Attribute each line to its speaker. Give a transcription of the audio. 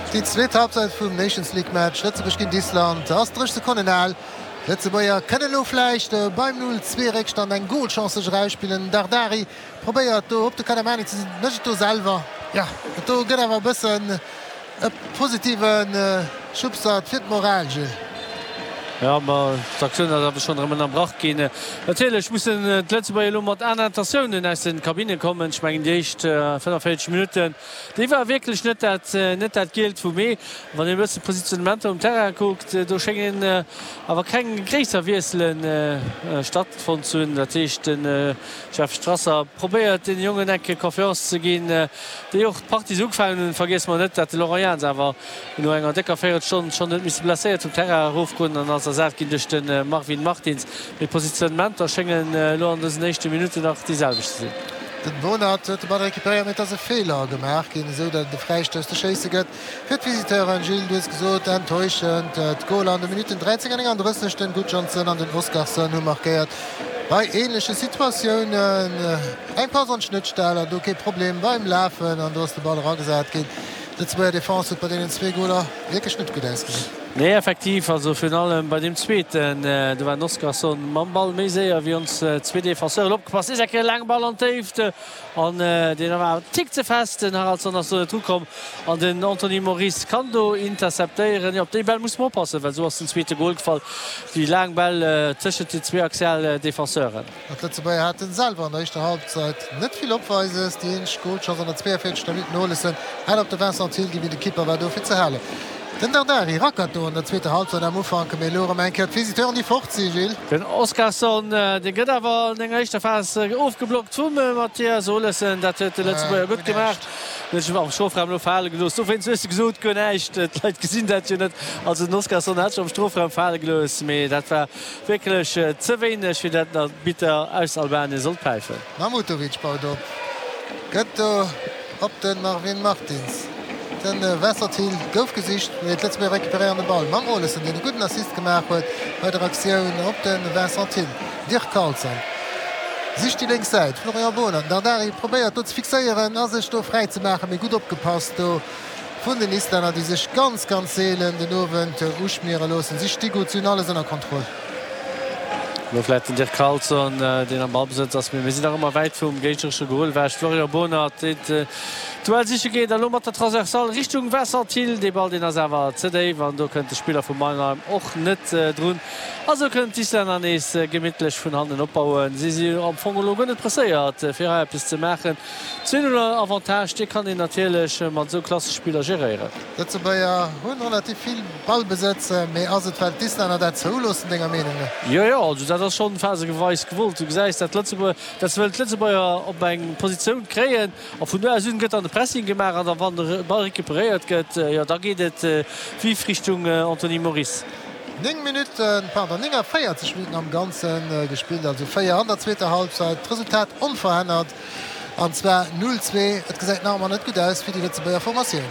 Speaker 1: Déi zweet Halbzeit vum Nations League Match Lëtzebuerg géint Island ass 30 Sekonnen al. D'Lëtzebuerger kënnen elo vläicht beim 0, 2 Réckstand eng Golchance sech erausspillen. Dardari probéiert do op de Kadamani ze sinn, mécht et do selwer. Jo, dat do gëtt awer e bëssen e positive Schubser fir d'Moral, Gilles.
Speaker 2: Jo, ma d'Aktioun ass awer schonn erëm ënnerbrach ginn. Natierlech mussen d'Lëtzebuerger elo mat aner Intentiounen aus de Kabinne kommen. Ech mengen déi éischt 45 Minutten Déi war wierklech net dat net dat Gielt vum Ee. Wann een e bëssen d'Positionnementer um Terrain kuckt, do schéngen awer keng gréisser Wiessele stattfonnt ze hunn. Dat heescht, de Jeff Strasser probéiert deene Jongen eng Kéier Confiance ze ginn, déi och d'Partie esou ugefaangen hunn. Vergiesse mer net, dat de Laurent Jans awer no enger décker Véierelstonn schonn huet misse blesséiert vum Terrain erofgoen an ass ersat ginn duerch de Marvin Martins. Mee d'Positionnementer schéngen elo an dësen éischte Minutten nach déi selwecht ze sinn.
Speaker 1: Den Bonat huet de Ball recuperéiert, mee et ass e Feeler gemaach ginn, esou datt et e Fräistouss ze schéisse gëtt fir d'Visiteuren. Gilles, du hues gesot, enttäuschend d'Goler an de Minutten 13 an 39. Den Gudjohnsen an den Oskarsson hu markéiert bei änleche Situatiounen. Eng Pass an d'Schnëttstell an do kee Problem beim Lafen an do ass de Ball eragesat ginn. D'Lëtzebuerger Defense huet bei deenen zwee Goler wierklech net gutt ausgesinn.
Speaker 2: Nee, effektiv, also virun allem bei deem zweeten, do war den Oskarsson mam Ball méi séier wéi ons zwee Defenseuren. Opgepasst, nees eng Kéier e laange Ball an d'Déift an deen war awer en Tick ze fest. Den Haraldsson ass do net rukomm an den Anthony Moris kann do interceptéieren. Jo, op déi Bäll muss mer oppassen, well esou ass den zweete Gol gefall, déi laang Bäll tëschent den zwee axial Defenseuren.
Speaker 1: An d'Lëtzebuerger haten selwer an der éischter Halbzeit net vill Opweises. Déi eenzeg Golchance an der 42. Minutt, den Olesen hat op de Vincent Thill ginn, mee de Kipper war do fir ze halen. Den Dardari rackert do an der zweeter Halbzeit am Ufank, mee elo erëm eng Kéier d'Visiteuren, déi fort sinn, Gilles.
Speaker 2: Den Oskarsson, dee gëtt awer an enger éischter Phas ofgeblockt vum Mathias Olesen. Dat huet de Lëtzebuerger gutt gemaach. Huet sech am Strofraum elo fale gelooss. Dowéinst hues de gesot, guer näischt. D'Leit gesinn dat jo net. Also den Oskarsson hat sech am Strofraum fale gelooss, mee dat war Wierklech ze wéineg fir dat den Arbitter aus Albanien sollt päifen.
Speaker 1: Mahmutovic baut op, gëtt do op de Marvin Martins. De Vincent Thill gouf gesicht, mee d'Lëtzebuerger recuperéieren de Ball mam Olesen, deen e gudden Assist gemaach huet bei der Aktioun op de Vincent Thill. Dirk Carlson sicht déi lénks Säit, Florian Bohnert. Dardari probéiert do ze fixéieren a sech do fräi ze maachen, mee gutt opgepasst do Vun den Islänner, déi sech ganz, ganz seelen den Owend uschmiere loossen. Si sti gutt, si hunn alles ënner Kontroll.
Speaker 2: Elo vläit den Dirk Carlson, deen am Ballbesëtz ass, mee mir sinn nach ëmmer wäit vum géigneresche Gol ewech. Florian Bohnert, deen d'Duell siche geet a lo mat der Transversale Richtung Vincent Thill. Dee Ball, deen ass awer ze déif an do kënnt de Spiller vu Mannheim och net drun. A sou kënnen d'Islänner nees gemittlech vun hannen opbauen. Si si am Fong elo guer net presséiert, fir hei eppes ze maachen. Zwee-Null Avantage, dee kann een natierlech mat esou Klassespiller geréieren.
Speaker 1: D'Lëtzebuerger hunn relativ vill Ballbesëtz, mee ass et well d'Islänner dat zouloossen denger Meenung no?
Speaker 2: Jo, jo, also dat ass schonn phasegeweis gewollt. Du gesäis, dat d'Lëtzebuerger, dat se wëllen d'Lëtzebuerger op eng Positioun kréien a vun do aus un gëtt dann de Pressing gemaach an da wann de Ball recuperéiert gëtt, jo da geet et vif Richtung Anthony Moris.
Speaker 1: 9 Minutten, pardon, 49 Minutten am Ganze gespillt, also 4 an der zweeter Halbzeit. D'Resultat onverännert an zwar 0, 2. Et gesäit nach ëmmer net gutt aus fir déi Lëtzebuerger Formatioun.